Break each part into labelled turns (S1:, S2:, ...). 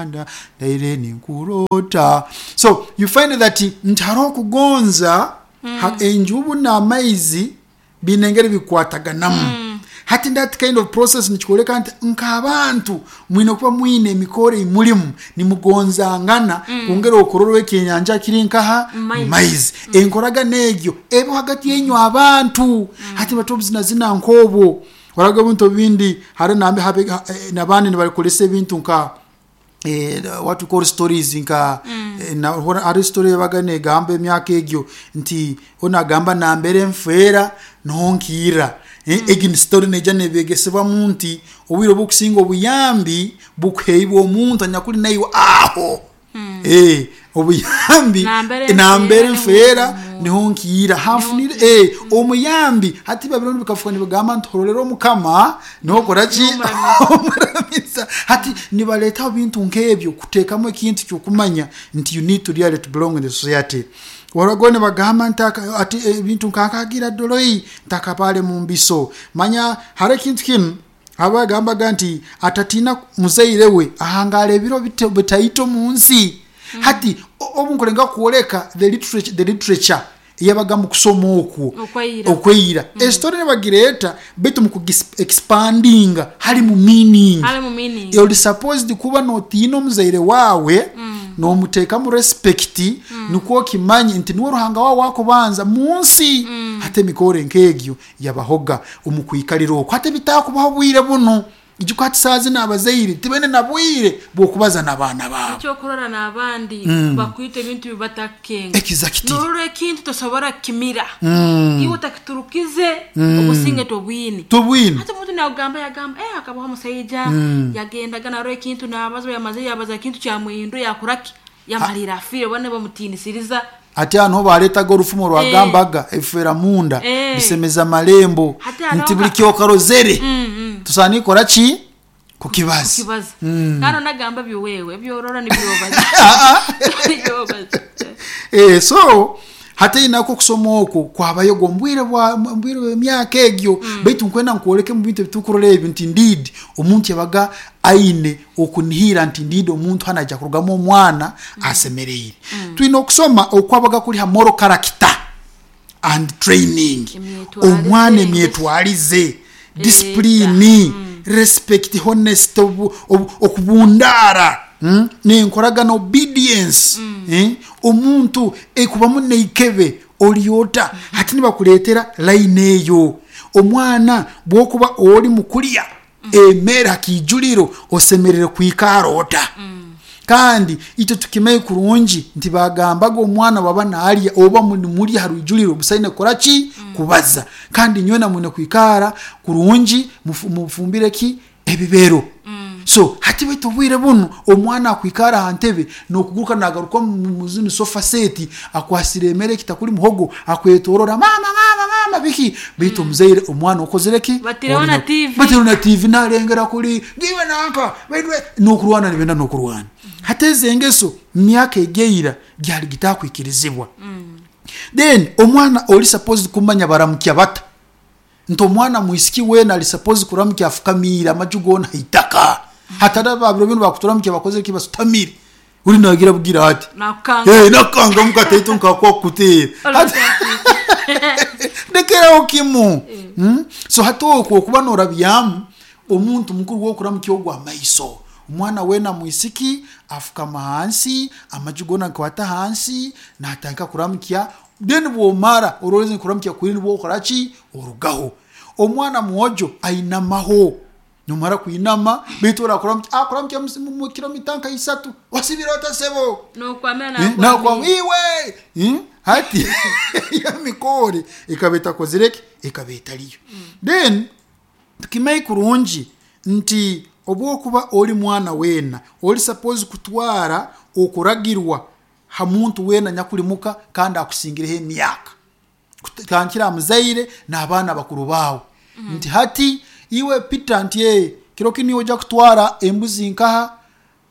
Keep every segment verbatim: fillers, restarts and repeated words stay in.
S1: Uganda, ndaire ninkurota. So you find that nti hariho okugonza ha- enjubu n'amaizi biine engeri bikwataganamu. Hati that kind of process nikikwoleka nti nk'abantu mwine kuba mwine emikoro eimulimu nimugonzangana, kwongera okurorwa ekyenyanja kiri nkaha
S2: Mumaizi.
S1: Maizi. Enkoragana egyo eba hagati yenyu abantu. Hati batobuzinazina nk'obwo oraga ebintu ebindi hare nambe habe- ha- eh, nabandi nibakolesa ebintu nka eh, what we call stories nka eh, na- hora- hari story yabaga negamba emyaka egyo nti onagamba nambere nfeera nonkiira. Eh, egi ni story neija nebegesebwamu nti obwire obukusinga obuyambi bukuheibwa omuntu anyakuli naiwe aho. Eh, obuyambi
S2: Nambere
S1: nambere
S2: nfeera
S1: nfeera niho nkiira hafunire eh, omuyambi. Hati babiro bikafuka nibagamba nti horolera omukama niho koraki omuramisa. Hati nibaletaho bintu nk'ebyo kuteekamu ekintu kyokumanya nti you need to really to belong in the society. Warago nibagamba nti aka- ati ebintu nkakagira doloi ntakapale mu mbiso. Manya hari ekintu kinu abagambaga nti atatina muzaire we ahangala ebiro bite- bitaito mu nsi. Hati o- obu nkulenga kwoleka the literature, the literature eyabaga mu kusoma okwo
S2: Okweira.
S1: Okweira esitori nibagireeta baitu mukuexpandinga hali mu meaning.
S2: Hali mu meaning.
S1: Oli supposed kuba notiina omuzaire waawe, nomuteekamu respect, nikwo okimanye nti niwe Ruhanga wawe wakubanza mu nsi. Hati emikoro nk'egyo yabahoga omu kwikalira okwo. Hati bitakubaho bwire buno, ijuka hati saa zino abazaire tibene na bwire bw'okubaza n'abaana baabo.
S2: Ekyokurora n'abandi bakwita ebintu bibatakenga.
S1: Exactly.
S2: Norora ekintu tosobora kukimira, iwe otakiturukize obusinge tobwine.
S1: Tobwine.
S2: Hati omuntu nagamba yagamba eh, akabaho omusaija yagendaga narora ekintu nabaza, yamaze yabaza ekintu kyamuhindu yakuraki yamalira afire bane bamutinisiriza.
S1: Ati hano baretaga orufumo rwagambaga efera munda
S2: Eh.
S1: bisemeza malembo.
S2: Hati hariho
S1: Nti buli
S2: nka-
S1: kyokarozere tusaana ikora ki kukibaza.
S2: Kibaza kandi onagamba byowewe ebyorora nibyobaza byobaza.
S1: Eh, so hati nako okusoma okwo kwabayo gwo mbwire bwa mbwire bw'emyaka egyo, baitu nkwenda nkwoleke mu bintu ebitukurora ebyo nti indeed omuntu yabaga aine okunihira nti indeed omuntu hano aija kurugamu omwana asemereire. Twine okusoma okwabaga kuli ha moral character and training.
S2: Emyetwarize.
S1: Omwana emyetwarize, discipline, respect, honest, obu- obu- okubundaara, mm? nenkoragana, obedience, eh? Omuntu ekubamu neikebe olyota. Hati nibakuleetera line eyo, omwana bwokuba oli mukulya emere hakijuliro osemerere kwikara ota. Kandi itwe tukimanye kurungi nti bagambaga omwana baba nalya oba nimulya ha rwijuliro busaine kukora ki kubaza. Kandi nywena mwine kwikara kurungi, mufu- mufumbire ki ebibero. So hati baitu obwire bunu omwana akwikara aha ntebe nokuguruka nagaruka mu zino sofa set akwasire emere kitakuli muhogo akwetorora mama mama mama biki. Baitu omuzaire omwana okozere ki?
S2: Batireho na T V.
S1: Batireho na T V nalengera kuli ngiwe nanka baitu nokurwana nibenda nokurwana. Hati ezi engeso myaka egeira gyali gitakwikirizibwa. Then omwana oli supposed kumanya baramukya bata, nti omwana mwisiki wena ali supposed kuramukya afukamiire amaju gona haitaka. Hatari babiro bino bakuturamukya bakozere ki basutamire, uri nagira bugira ati
S2: nakukanga.
S1: Eh, nakanga mukataito nkakwa kuteera. Ndekeraho kimu. Mm? So hati okwo okuba norabyamu omuntu mukuru wokuramukya ogwo amaiso, omwana wena mwisiki afukama hansi amaju gona nkwata hansi natandika kuramukya. Then bwomara ororeze kuramukya kuri nibwo okoraki orugaho. Omwana mwojo ainamaho, nomara kuinama baitu orakuramukya akuramukya mu kilomita nka isatu wasibira otasebo.
S2: Nokwamira.
S1: Eh, nakwa iwe. Eh, hati ya mikore ikaba etakozireki ikaba etaliyo. Then tukimanye kurungi nti obwokuba oli mwana wena oli suppose kutwara okuragirwa ha muntu wena nyakulimuka kandi akusingireho emyaka, kutandikira muzaire n'abaana bakuru bawe, nti hati iwe Peter nti eh, kiro kini ojja kutwara embuzi nkaha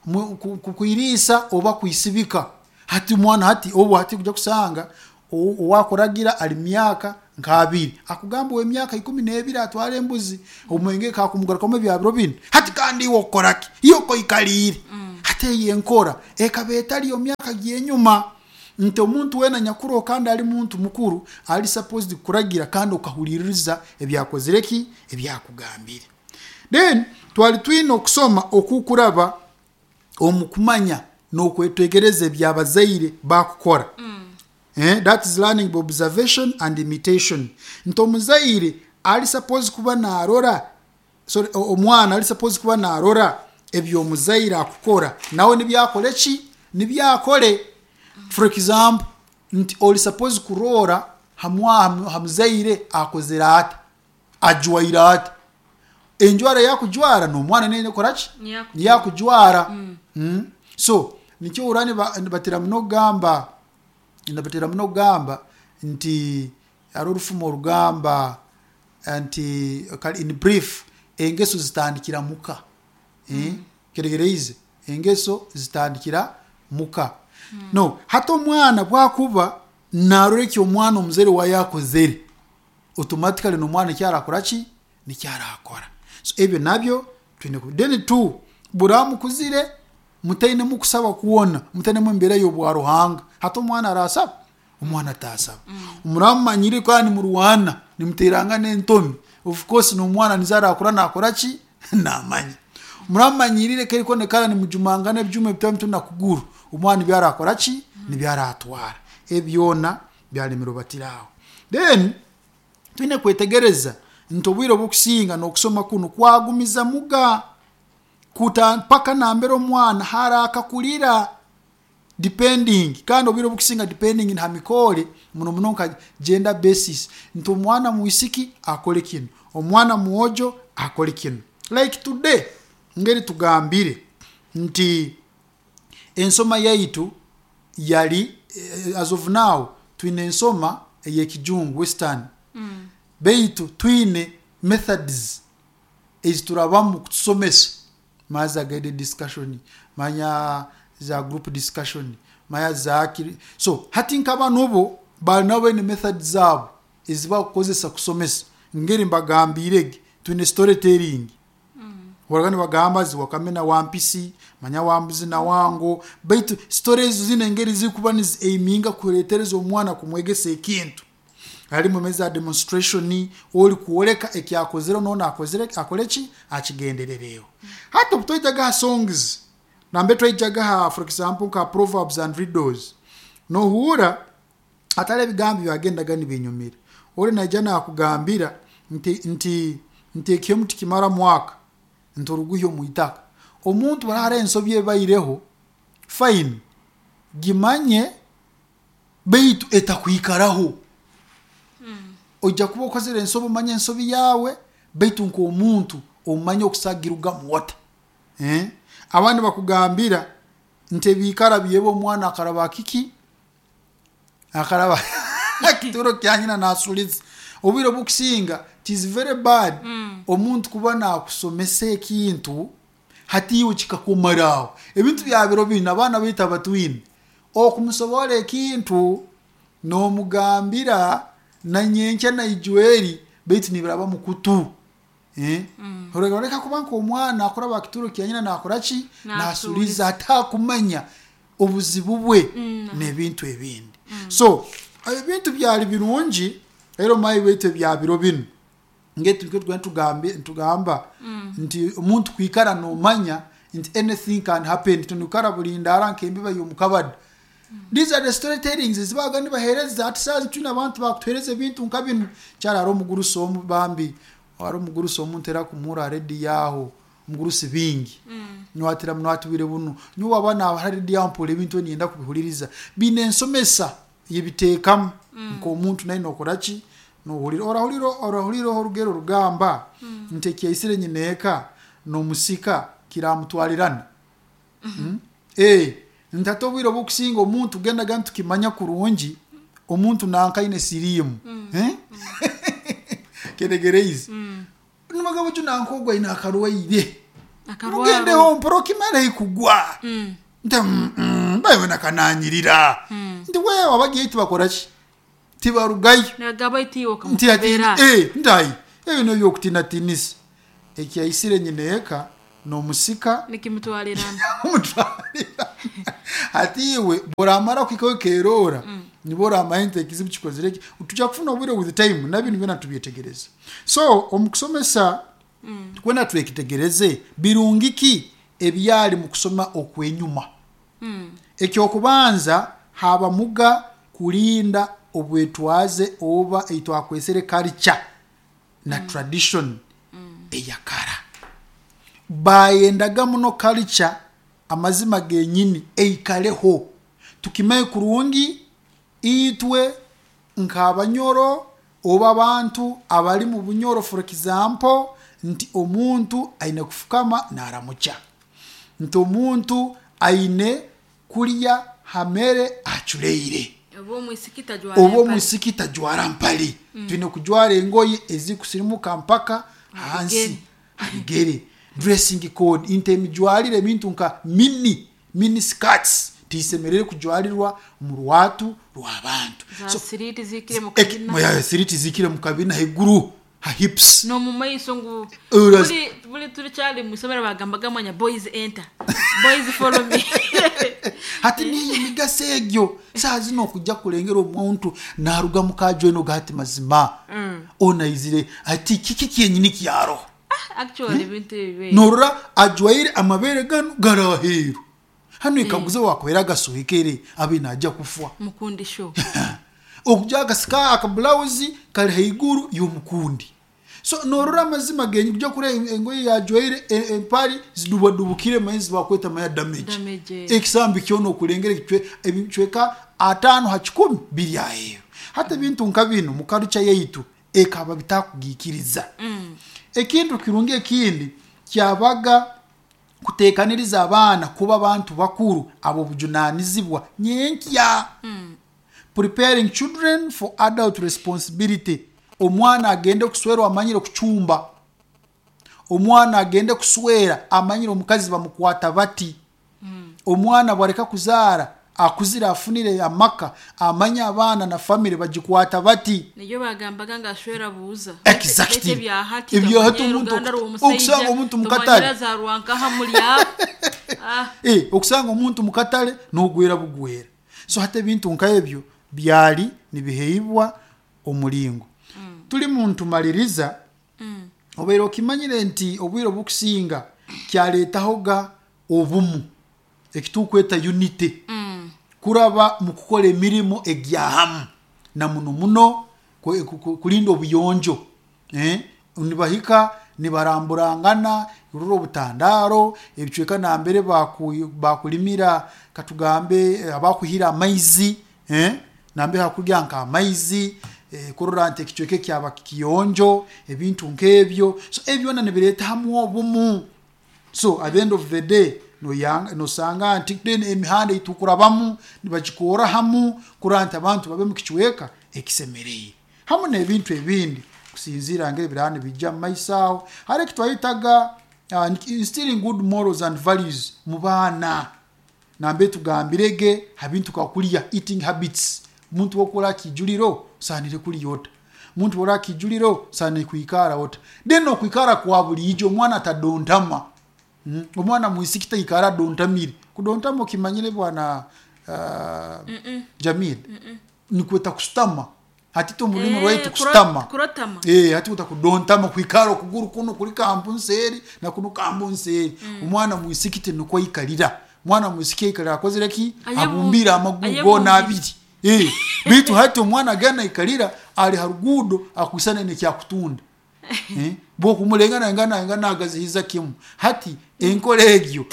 S1: mu- ku- ku- kuiriisa oba kuisibika. Hati mwana hati obu hati kuja kusanga o- owakuragira ali myaka nk'abiri akugamba ow'emyaka ikumi n'ebiri atwara embuzi omwenge kakumugarukamu ebyabiro binu hati kandi iwe okoraki iwe okoikaliire hati eyo enkora ekaba etali omu myaka gyenyuma nti omuntu weena nyakuroho kandi ali muntu mukuru ali supposed kuragira kandi okahuliriza ebyakozire ki ebyakugambire. Then twali twine okusoma okukuraba omu kumanya n'okwetegereza ebyabazaire bakukora. Eh, that is learning by observation and imitation. Nti omuzaire ali supposed kuba narora, sorry, o- omwana ali supposed kuba narora ebyomuzaire akukora nawe nibyakole ki nibyakole. For example, nti oli supposed kurora hamwa hamuzaire akozere ata, ajwaire ata, enjwara yakujwara n'omwana nekora ki
S2: Niyakujwara.
S1: yakujwara. Mm. So nikyo ura nibatera muno kugamba nibatera muno kugamba nti hariho orufumo orugamba nti kale in brief, engeso zitandikira muka. Eh? Keregereize engeso zitandikira muka. No hati omwana bwakuba narora eki omwana omuzaire waye akozere, automatically n'omwana eki arakora ki nikyo arakora. So ebyo nabyo twine ku then two, buramukuzire mutainemu kusaba kwona, mutainemu embeera y'obwa Ruhanga. Hati omwana arasaba, omwana atasaba. Muramumanyire kandi murwana nimuterangana entomi, of course n'omwana nizo arakura nakora ki namanya. Muramumanyirire keriko nekara nimujumangana ebyuma ebitari nakuguru, omwana nibyo arakora ki nibyo aratwara. Ebyona byalemere batiraho. Then twine kwetegereza nti obwire obukusinga n'okusoma kunu kwagumiza muga kuta mpaka nambere omwana harakakurira, depending kandi obwire obukusinga depending ha mikore muno muno nka gender basis, nti omwana mwisiki akole kino, omwana mwojo akole kino. Like today ngeri tugambire nti ensoma yaitu yali, eh, as of now twine ensoma ey'ekijungu, western.
S2: Mm.
S1: Beitu twine methods eziturabamu kutusomesa, maza guided discussion, manya za group discussion, manya za kiri. So hati nk'abanu bo bali nabo baine methods zaabo ezibakukozesa kusomesa. Ngeri mbagambirege twine storytelling, horaga nibagamba zi wakame na wampisi, manya wambuzi na wango, baitu stories ezo zine engeri zikuba niziaiminga kuretereza omwana kumwegesa ekintu. Harimu meza demonstration, ori kuoleka ekyakozere nona akozere akole ki akigenderereho. Hati obutwaijaga ha songs nambe twaijaga ha, for example, nka proverbs and riddles, nohura atari ebigambo byagendaga nibinyumira. Ori naija nakugambira nti nti nti ekyomu tikimara mwaka nti oruguhya omu itaka. Omuntu barahara ensobi ebaireho, fine, gimanye, beitu etakwikaraho. Ojja kuba okozere ensobi, omanye ensobi yawe, beitu nk'omuntu omanye okusagirugamu wata. Eh? Abandi bakugambira nti ebikara byeba omwana akaraba kiki akaraba kituro kya nyina nasuliza. Obwire bukusinga it is very bad omuntu kuba nakusomesa ekintu hati iwe kikakumaraho. Ebintu bya biro bino abaana baitu abatwine okumusobora ekintu nomugambira na nyenkya na ijweri, baitu nibiraba mukutu. Eh? Mm. Reka kuba nk'omwana akuraba kituro kya nyina nakora ki nasuliza atakumanya obuzibu bwe
S2: Mm.
S1: n'ebintu ebindi. So ebintu byali birungi rero mayi baitu ebya biro bino ngetu tugamba tugamba nti omuntu kwikara nomanya nti anything can happen, tunukara bulindara nk'embiba y'omukabadi. These are the storytellings ezibaga nibahereza. Ati saazi twine abantu bakutuhereza ebintu nka bino. Kyari hari omugurusi omu bambi, hari omugurusi omu ntera kumura redi yaho, omugurusi bingi niwatira munwatubire buno niwe waba naba redi yaho mpura ebintu niyenda kubihuliriza bine ensomesa yebiteekamu nk'omuntu naye nokora ki nohulira orahulira orahulira orugero rugamba nti ekyaisire nyineeka n'omusika kiramutwalirana. Mm? Eh, nti obwire obukusinga omuntu gendaga ntukimanya kurungi omuntu nankaine siriimu. Eh? Keregereize nimagabo ju nankogwa ine akarwaire
S2: Akarwaro.
S1: mugendeho mpora okimara ikugwa
S2: Mm.
S1: nti mm, mm, bawe nakananyirira nti wewe abagiye tibakora ki Tibarugayo.
S2: Nagaba itiwe
S1: Nti ati
S2: okamukebera.
S1: Eh, ndayi ebyo nobyokutinatiinisa ekyaisire nyina eka n'omusika
S2: Nikimutwalirana.
S1: Omutwalira. Ati iwe boramara kuhikaho keroora, nibo oramanya nti ekizibu kikozire ki. Tujja kufuna obwire with time nabinu byona tubyetegereze. So omu kusomesa tukwenda twekitegereze birungi ki ebyali mu kusoma okwenyuma. Ekyokubanza, habamuga kulinda obwetwaze oba eitwakwesere culture na tradition eyakara. Bayendaga muno culture, amazima genyini eikaleho. Tukimaye kurungi itwe nk'abanyoro oba abantu abali mu bunyoro, for example, nti omuntu aine kufukama naramukya, nti omuntu aine kulya hamere aculeire,
S2: oba omwisiki tajwara
S1: oba
S2: empale.
S1: Omwisiki tajwara mpale, twine kujwara engoye ezikusirimuka mpaka hansi
S2: Habigere.
S1: Habigere. Dressing code nti emijwarire ebintu nka mini mini skirts tisemerere kujwarirwa mu rwatu rw'abantu.
S2: Za
S1: So,
S2: siriti zikire mu
S1: eki-
S2: kabina.
S1: moya, siriti zikire mu kabina haiguru ha hips.
S2: No mu maiso ngu
S1: Ura-
S2: buli buli turikyali mu isomero bagambaga mwanya, "Boys enter, boys follow me."
S1: Hati niyo emigaso egyo saa zino okujja kulengera omuntu naruga mukajo gati mazima onaizire ati kiki kyenyini kyaroho.
S2: Actually ebintu ebi
S1: Norora ajwaire amabere gano gari aheeru hano, ikaguze wakwera agasohekere abe najja kufa.
S2: Mukundi show.
S1: Okujja akasika akabulawuzi kali haiguru y'omukundi. So norora amazima genyi kujja kura engoye yajwaire e- empali zidubadubukire maizi bakweta maya damage.
S2: Damage.
S1: Ekisambi kyona okulengera ekicwe- ebicweka ataano ha kikumi biri aheeru. Hata ebintu nka bino mu culture yaitu ekaba bitakugikiriza. Ekintu kirungi ekindi kyabaga kutekaniriza abaana kuba bantu bakuru abo bujunanizibwa nyenkya, preparing children for adult responsibility. Omwana agende kuswera amanyire kucumba, omwana agende kuswera amanyire omukazi bamukwata bati, omwana bwareka kuzaara akuzire afunire amaka amanye abaana na family bagikwata bati.
S2: Niyo bagambaga nga ashwera buuza.
S1: Exactly.
S2: Ebyahati.
S1: Ebyahati omuntu okusanga omuntu mu katale.
S2: Zarwankaha mulya. Ah.
S1: Eh, okusanga omuntu mukatale nogwera bugwera. So hata ebintu nka ebyo byali nibiheibwa omulingo tuli muntu maliriza. Obeire okimanyire nti obwire obukusinga kyaleetahoga obumu ekitukweta unity kuraba mu kukola emirimu egyahamu na muno muno ku- ku- kulinda obuyonjo, eh? Nibahika nibaramburangana rura obutandaro ebicweka nambere baku- bakulimira, katugambe eh, abakuhira amaizi, eh? Nambere hakurya nka amaizi, eh, kurora nti ekicweka kyaba kiyonjo, ebintu nk'ebyo. So ebyo byona nibireeta hamu obumu. So at the end of the day noyanga- nosanga nti then emihanda eitukurabamu nibagikora hamu kurora nti abantu babe mu kicweka ekisemereire hamu n'ebintu ebindi kusinziira ngaebiraba nibijja mu maiso aho. Hari ekitwayitaga uh, instilling good morals and values mu baana, nambe tugambirege habintu kakulya, eating habits. Muntu wokola akijuliro osanire kulya ota, muntu wola akijuliro osanire kwikara ota, then okwikara kwa bulijo omwana atadontama. Mm. Omwana mwisiki taikara adontamire. Kudontama okimanyire bwana uh, Jamil? Nikweta kusutama. Hatito mu rurimi
S2: Eh,
S1: rwaitu
S2: kuro-
S1: kusutama.
S2: Kurotama.
S1: Eh, hati uta kudontama kwikara okuguru kuno kuri kambu nseri na kuno kambu nseri. Omwana mwisiki nukwo ikalira. Mwana mwisiki ikalira akozere ki?
S2: Ayebu-
S1: Abumbira amaguru
S2: ayebumbire.
S1: gona abiri. Eh, bitu hati omwana agana ikalira ali harugudo akwisana nekyakutunda. Eh, bwokumulengana ngana ngana agazihiza kimu. Hati enkola egyo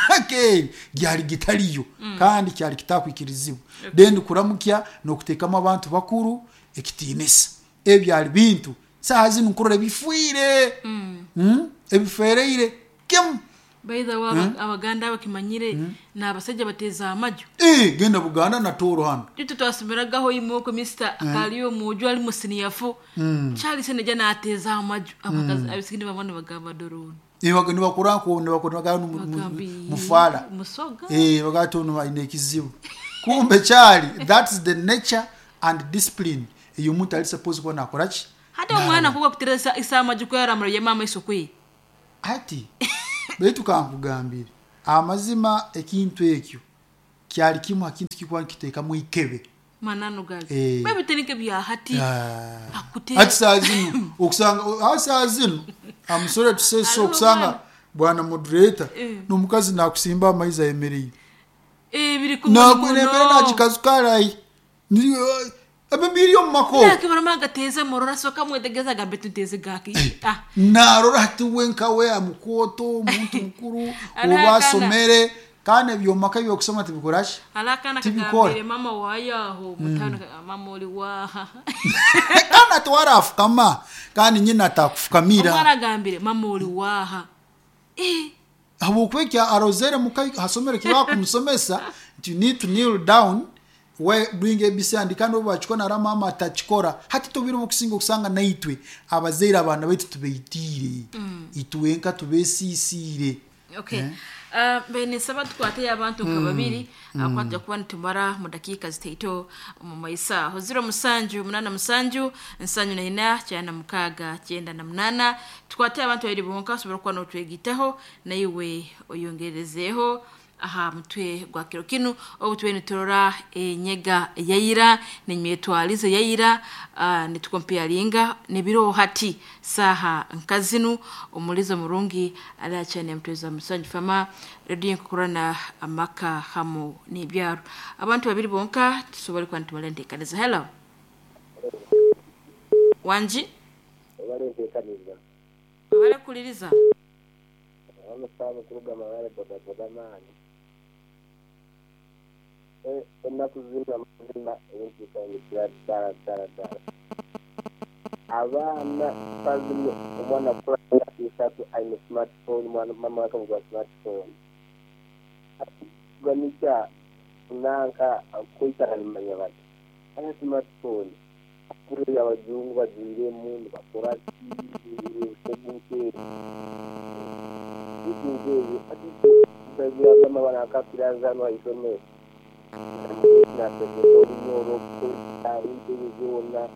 S1: myaka eri gyali gitaliyo kandi kyali kitakwikirizibwa. Then kuramukya n'okuteekamu abantu bakuru ekitiinisa, ebyali bintu saaha zinu nkurora bifiire, Mm? Ebifereire kimu.
S2: By the way, aba- abaganda bakimanyire ni abasajja bateza amaju.
S1: Eh, genda Buganda na Tooro hano.
S2: Itu twasomeraga imoko mister akaliyo muju ali musiniyafu Charles neja nateza amaju abakazi abisikini babona bagamba doroni.
S1: Nibakuranko nibakuranko
S2: Bagambi
S1: mufala.
S2: Musoga.
S1: Eh, bagati ono alina ekizibu, kumbe kyali that's the nature And discipline ey'omuntu ali supposed kuba nakora ki.
S2: Hata omwana kuba kutereza isama jukwera mura mama isukwi.
S1: Ati baitu kankugambire amazima, ekintu ekyo kyali kimu akintu kikuba nkiteekamu ikebe.
S2: Mananu gazi.
S1: Eh.
S2: Baby tenike bya hati.
S1: Ah.
S2: Akute.
S1: Ati saa zino okusanga ah, saa zino, I'm sorry to say so,
S2: Aliwo
S1: okusanga
S2: mwana.
S1: Bwana moderator,
S2: Eh.
S1: n'omukazi nakusimba amaizi ayemereire.
S2: Eh, biri
S1: Nakunemere nakikazu karayi ebibiri omu mako.
S2: Nakibara gateza murora soka mwetegeza gambe tuteze gaki. Ah.
S1: Narora hati we nkawe amukwoto omuntu mukuru
S2: Ara
S1: oba
S2: akana.
S1: asomere kandi ebyomaka ebyokusoma tibikoraki.
S2: Alakana
S1: Tibikora.
S2: kagambire mama wayaho mutano mama oli waha.
S1: Kandi atiwarafukama kandi nyina atakufukamira.
S2: Omwana agambire mama oli waha. Eh.
S1: Habwokuba ekya arozere muka hasomero kibakumusomesa nti you need to kneel down we doing A B C and kandi obu bakikora nara mama atakikora. Hati tobire obukusinga okusanga naitwe abazaire abaana baitu tubeitiire itwenka tubesiisiire.
S2: Okay. Uh, bene saba tukwate abantu nka babiri akwatja kuba nitumara mu dakiika zitaito mu maisa aho ziro musanju munana musanju nsanju na ina kyenda mukaaga kyenda na munana. Tukwate abantu babiri bonka osobora kuba notwegitaho naiwe oyongerezeho aha mutwe gwa kiro kinu obu tube niturora enyega yayira nemyetwalize yayira, uh, nitukompearinga nebiro hati saha nkazinu. Omulizo murungi alachane mtweza musanju fama redio nkukurana amaka hamu n'ebyaro. Abantu babiri bonka tusobole kuba nitumara enteekaniza. Hello, wanji.
S3: Obale nteekaniza.
S2: Babale kuliriza.
S3: Abamusaaba okuruga Mabale bodaboda maani. Ennaku zino amazima ebintu bitandikira ddala ddala ddala. Abaana bazino omwana akula myaka esatu aine smartphone, mwana mama akamugura smartphone. Ganikya nanka kwikara nimanya bati aya smartphone kuri abazungu bagwiremu nibakora ki ebyo ati banakakiraza isomero nasomesa olunyoro entebe zona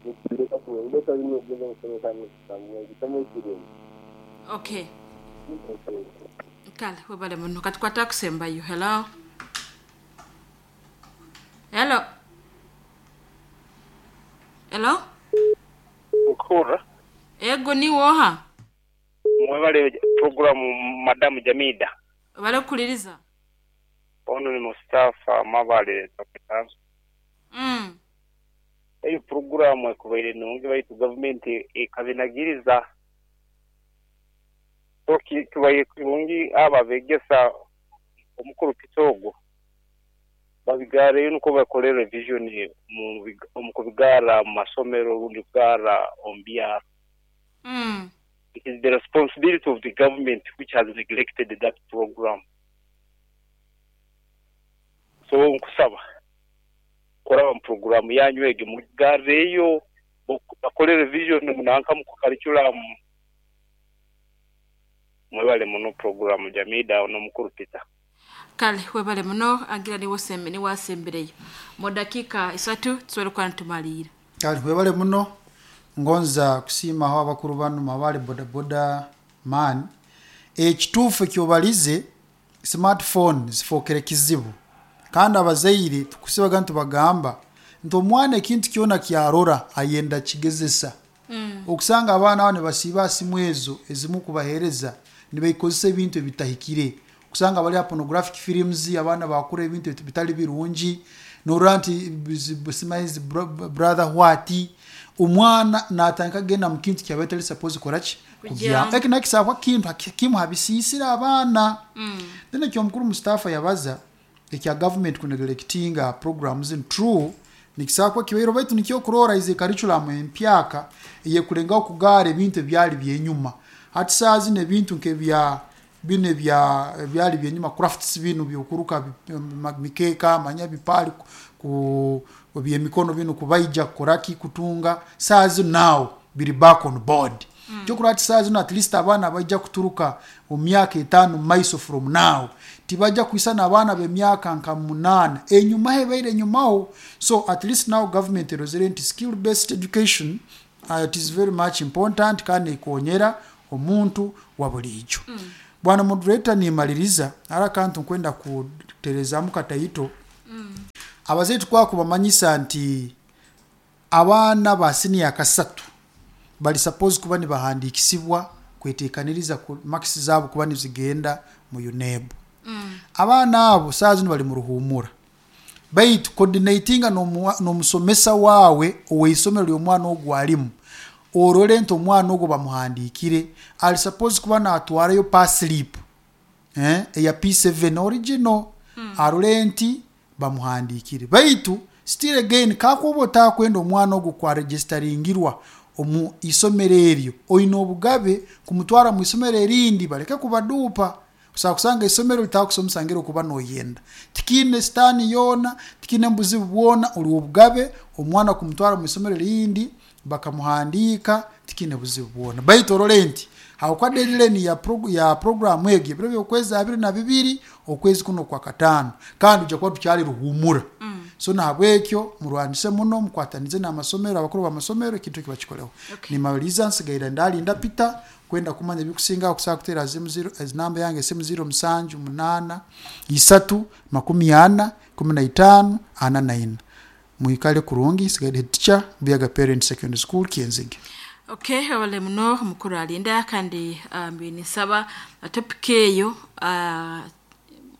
S3: nikireka kuwembesa bino ogenda omusomesa ekitamo ekiremu.
S2: Okay, kale webale muno. Katukwata kusembayo. Hello, hello, hello.
S4: Nkura.
S2: Ego niwoha.
S4: Mwebale programu madamu Jamida.
S2: Bale kuliriza.
S4: Ono ni Mustafa Mabale Tokitanso.
S2: mm.
S4: Eyo programu ekubaire nungi baitu gavumenti ekabinagiriza. So kibaire kirungi aba begesa omukuru Kitogo babigareyo nuko bakore revision mu big- mu kubigara mu masomero rundi kugara omu byaro.
S2: Mm.
S4: It is the responsibility of the government which has neglected that program. So nkusaba kuraba mu programu yanyu ege mugareyo bakore revision munanka mu curriculum. Mwebale muno programu Jamida n'omukuru Peter.
S2: Kale webale muno agira niwosembe niwasembereyo mu dakiika isatu tusobole kuba nitumalira.
S1: Kale webale muno. Ngonza kusiimaho abakuru bano Mabale bodaboda man. Ekituufu ekyobalize, smartphone zifookere kizibu kandi abazaire tukusibaga ntibagamba nti omwana ekintu kyona kyarora ayenda kigezesa mm. Okusanga abaana abo nibasiiba simu ezo ezimu kubahereza nibaikozesa ebintu ebitahikire, okusanga bali pornographic films, abaana bakura ebintu bitali birungi norora nti simanyi zi brother what. Omwana natandika kugenda mu kintu kyaba tali suppose koraki
S2: Kujyamu.
S1: kujya eki nakisabwa kintu kimu habisiisira abaana mm. Then ekyo omukuru Mustafa yabaza ekya government kuneglectinga programs in true nikisakwa kibairo baitu nikyo kurora ize curriculum empyaka eyekulengaho kugaara ebintu ebyali byenyuma. Hati saa zino ebintu nkebya bino ebya ebyali byenyuma, crafts bino byokuruka bi- ma- mikeeka manya bipaali ku ku byemikono bino kubaija kukoraki kutunga, saa zino now biri back on board mm. Kyokurora ati saa zino at least abaana baija kuturuka mu myaka etaano maiso from now. Tibajja kwisana abaana b'emyaka nka munaana enyuma hebaire enyumaho. So at least now government erozere nti skill based education uh, it is very much important kandi ekonyera omuntu wa bulijo. mm. Bwana moderator, nimaliriza ara kantu nkwenda kuterezamu kataito. mm. Abazetu kwa kubamanyisa nti abaana ba senior kasatu bali suppose kuba nibahandikisibwa kwetekaniriza ku marks zabo kuba nizigenda mu UNEB. mm. Abaana abo saa zino bali mu ruhumura, baitu coordinatinga n'omusomesa wawe oweisomero ly'omwana ogwo alimu, orole nti omwana ogwo bamuhandikire ali suppose kuba natwarayo pass slip eh eya P seven original. mm. Arole nti bamuhandikire, baitu still again kakuba otakwenda omwana ogwo kwa registeringirwa omu isomero eryo, oyina obugabe kumutwara mu isomero erindi baleke kubadupa. Kusa kusanga isomero litakusomesa okuba noyenda, tikine stani yona, tikine mbuzi bwona, uli obugabe omwana kumutwara mu isomero erindi bakamuhandika, tikine buzibu bwona. Baitu orole nti hawakwa deadline ya prog ya program egi ebiro by'okwezi abiri na bibiri okwezi kuno kwa katano, kandi ujja kuba tukyali ruhumura. mm. So nahabwekyo murwanise muno, mukwatanize n'amasomero, abakuru b'amasomero ekintu kiba kikoleho. Okay. Nimaliza nsigaira ndalinda Peter kwenda kumanya ebikusinga okusaba kutera zimu zero namba yange simu zero musanju munana isatu makumi ana kumi na itano ana na ina. Muikale kurungi. Sigaire head teacher Buyaga Parent Secondary School Kienzige.
S2: Okay, wale muno mukuru alinda kandi um, nisaba topic eyo uh,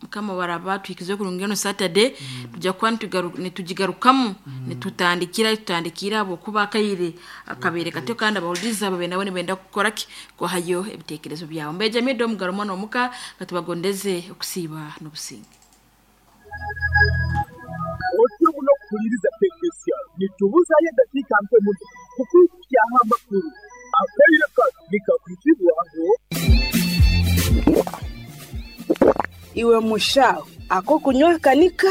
S2: kama waraba tuikize kurungeno Saturday. mm. Tujja kuba nitugigarukamu, mm. nitutandikira tutandikira abo kuba kaire akabere katyo kandi abawuliza babe nabo nibenda kukora ki kwahayo ebitekerezo byawe. Mbeja mido mugarumo no muka katubagondeze okusiba n'obusinge.
S5: Otubu no kuliriza tekesia nitubuzaye dakika mpe muno kukukia amakuru akaire nikakuzibwaho.
S6: Iwe mushaho ako kunywa kanika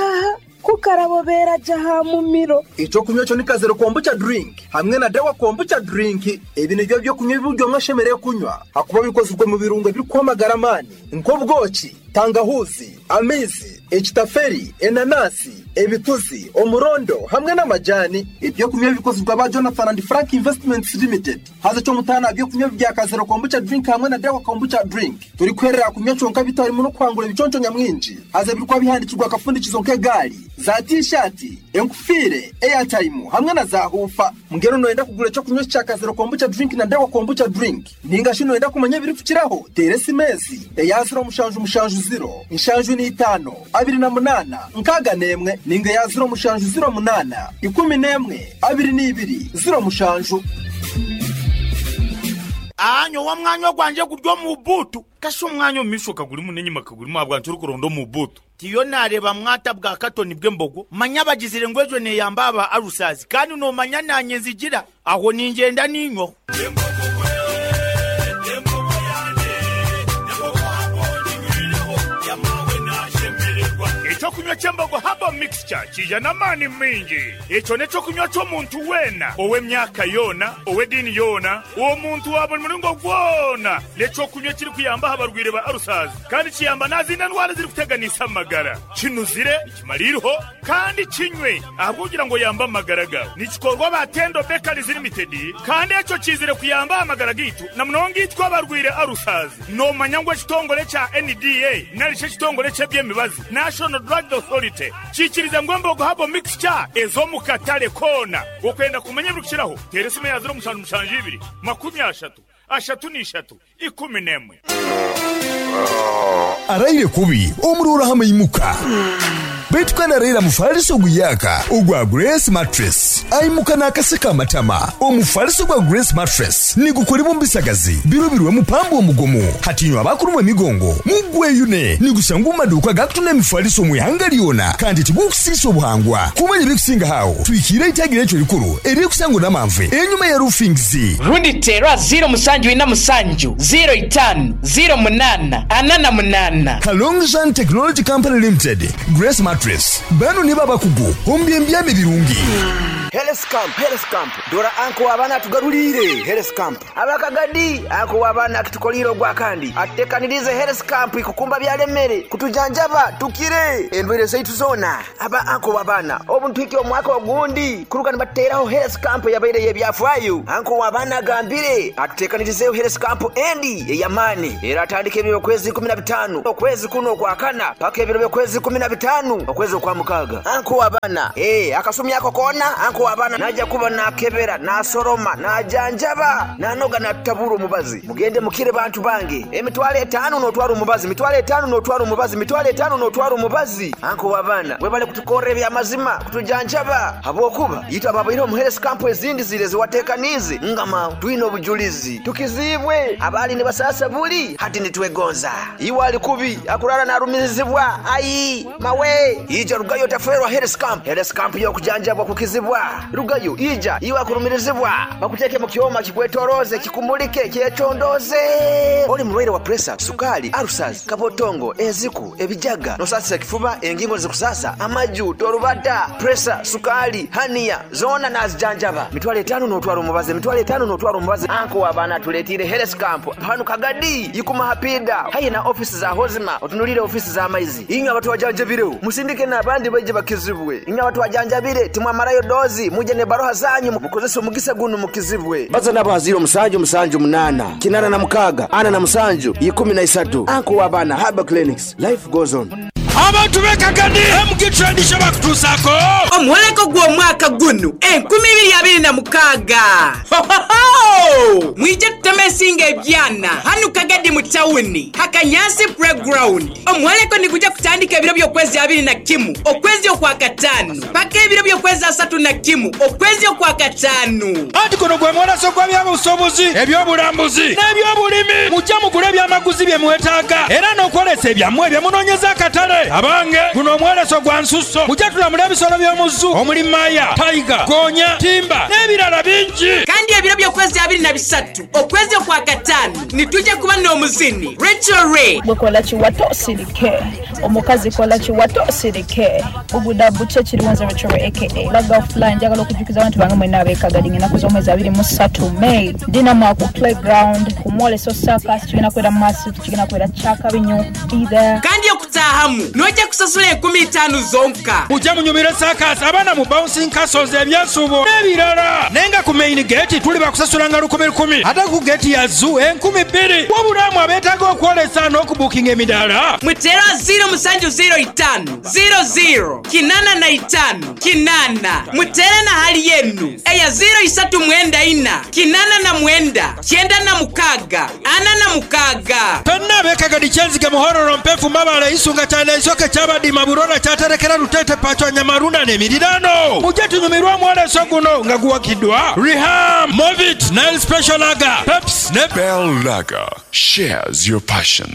S6: kukarabobera jaha mumiro.
S7: Ico kunywa cyo nikazero kombucha drink hamwe na dawa kombucha drink. Ebi nibyo byo kunywa ibyo mwashemereye kunywa hakuba bikozwe mu birungo biri kwamagara mani nk'obwoki, tangahuzi, amizi, ekitaferi, enanasi, ebituzi, omurondo hamwe n'amajani. Ibyo kunywa bikozwe ba Jonathan and Frank Investments Limited. Haza cyo mutana byo kunywa bya kazero kombucha drink hamwe na dawa kombucha drink. Turi kwerera kunywa cyonka bitari mu no kwangura ibiconco nyamwinji. Haza birikwa bihandikirwa akafundikizo nk'egali, za t-shirt, enkufire, airtime hamwe na za hufa. Mungero noenda kugura cyo kunywa cya kazero kombucha drink na dawa kombucha drink. Ninga shino enda kumanya biri kukiraho. Teresi mezi, eyaziro mushanju mushanju zero, inshanju ni itano, abiri na munana, nkaga nemwe, ninga ya zero mushanju zero munana, ikumi nemwe, abiri n'ibiri, zero mushanju.
S8: Anyo wa mwanyo gwanje kudyo mu butu. Kasho mwanyo mishoka guli munenyi makaguli mwabwa nturi kurondo mu butu. Tiyo nareba mwata bwa katoni bw'embogo, manya bagizire ngwejo ne yambaba arusazi kandi no manya nanye nzigira aho ningenda ninyo.
S9: Ekyokunywa ky'embogo haba mixture kija n'amaani mingi. Ekyo n'ekyokunywa ky'omuntu weena ow'emyaka yoona ow'eddiini yoona omuntu wa buli muringo gwona. N'ekyokunywa kiri kuyamba abarwaire ba arusazi kandi kiyamba n'azindi ndwara ziri kuteganisa amagara. Kinuzire nikimariiriho kandi kinywe ahabw'okugira ngo yambe amagara gawe. Nikikorwa ba Tendo Bakeries Limited kandi ekyo kizire kuyamba amagara gitu na munonga itwe abarwaire arusazi. Nomanya ngu ekitongore kya N D A nari kyo ekitongore ky'ebyemibazi National Drug Authority kikiriza ngo embogo habo mixture ezo mu katale kona. Okwenda kumanya ebirikukiraho tera esimu ya zero mushanju mushanju ibiri makumi ashatu ashatu n'ishatu ikumi n'emwe.
S10: Araire kubi omurora hamwe imuka Baitu kandi arayira mufaliso guyaka ogwa Grace Mattress aimuka n'akaseka amatama. Omufaliso gwa Grace Mattress nigukolebwa mu bisagazi birobirwe mupambo omugomo hatinywa abakulumwa emigongo mugweyune nigusanga mu maduuka gakutunda emifaliso mu ihanga lyona kandi tigukusiisa obuhangwa. Kumanya ebikusinga hawo twikire itagira ekyo likuru eririkusangwa n'amanve enyuma ya Roofings
S11: rundi terwa zero musanju ina musanju zero itanu zero munana anana munana.
S10: Kalongzhan Technology Company Limited Grace Mattress bano ni babakugu ombyembyame birungi.
S12: Health camp, health camp. Dora anko abaana tugarulire health camp. Abakagadi anko abaana kitukoliro gwa kandi. Atekanirize health camp ikukumba byalemere kutujanjaba tukire endwere zaitu zona. Aba anko abaana obuntwiki omwaka ogundi kuruka nibateraho health camp yabaire yebyafaayo. Anko abaana gambire atutekanirize health camp endi eyamani. Era atandike ebiro kwezi kumi na bitano okwezi kuno kwa kana paka ebiro kwezi kumi na bitano okwezi kwa mukaga. Anko abaana eh akasumi yako kona anko abaana naja kuba nakebera nasoroma najanjaba nanoga natabura omubazi. Mugende mukire bantu bange emitwalo etano notwara omubazi, mitwalo etano notwara omubazi, mitwalo etano notwara omubazi. Anko abaana webale kutukorera ebyamazima kutujanjaba habwokuba yitwa babaire omu health camp ezindi zire ziwatekanize ngama twine obujulizi tukizibwe abali ne basasa buli hati nitwegonza iwali kubi akurara narumizibwa ayi mawe ija rugayo taferwa health camp. Health camp yo kujanjabwa kukizibwa rugayo ija iwa kurumirizibwa bakuteke mu kyoma kikwetoroze kikumulike kyetondoze. Oli mulwaire wa pressure, sukali, ulcers, kabotongo, eziku, ebijaga, nosasa kifuba, engingo zikusasa, amaju, torubata, pressure, sukali, hania, zona nazijanjaba. Mitwalo etano notwara omubazi, mitwalo etano notwara omubazi. Anko abaana tuletire health camp hanu Kagadi yikuma hapida hayi na office za hozima otunulire office za maizi. Inyo abantu wajanjabire musindike n'abandi baje bakizibwe. Inyo abantu wajanjabire timwamarayo dozi muje ne baroha zanyu mukozesa omugisa gunu mukizibwe. Baza nabo haziro musanju musanju munana kinana na mukaga ana na musanju ikumi na isatu. Anko abaana Haba Clinics, life goes on.
S13: Abantu bekagadi M G tradition bakutusako
S11: omwoleko gw'omwaka guno enkumi ibiri abiri na mukaaga. Ho mwije tutemesinga ebyana hanu Kagadi mu tawuni Hakanyasi playground. Omwoleko nikuja kutandika ebiro by'okwezi abiri na kimu okwezi okwa kataano paka ebiro by'okwezi asatu na kimu okwezi okwa kataano.
S13: Anti kuno gwe mwolaso gwa byabusobozi ebyobulambuzi n'ebyobulimi mujja mugule ebyamaguzi bye mwetaaga era n'okwolesa ebyammwe bye munoonyeza akatale. Abange guno omwoleso gwa nsusso mujja tulamula ebisolo by'omuzu omuli maya, tiger, gonya, timba n'ebirala bingi.
S11: Kandi ebiro by'okwezi abiri na bisatu okwezi okwa kataano nitujja kuba n'omuzini Rachel Ray.
S14: Gwekola kiwato osirike omukazi kola kiwato osirike oguda buche kiriwanza Rachel Ray aka Laga Fly. Njagala okujjukiza abantu bange mwenna ab'Ekagadi ng'ennaku z'omwezi abiri mu ssatu May ndina ku playground ku mwoleso circus kigenda kubeera mu maaso kigenda kubeera kyakabinyo either.
S11: Kandi okutaahamu nojja kusasula enkumi ttaano zonka.
S13: Mujja munyumire circus abaana mu bouncing castles ebyensubo n'ebirala naye nga ku main gate tuli bakusasulanga lukumi lukumi ate ku gate ya zoo enkumi bbiri. Wabulamu abeetaaga okwolesa n'okubuukinga emidaala
S11: mutera zero musanju zero itaano zero zero kinana na itaano kinana mutere na hali yenu eya zero isatu mwenda ina kinana na mwenda kyenda na mukaaga ana na mukaaga.
S13: Fenna ab'Ekagadi Kyenzige Muhororo Mpefu Mabale Isunga Kyana Isoke Kyabadima Burora Kyaterekera Rutete Pachwa Nyamarunda n'emirirano mujje tunyumirwe omwoleso guno nga guwakiddwa Reham, Movit, Nile Special Lager, Peps ne
S15: Bell Lager shares your passion.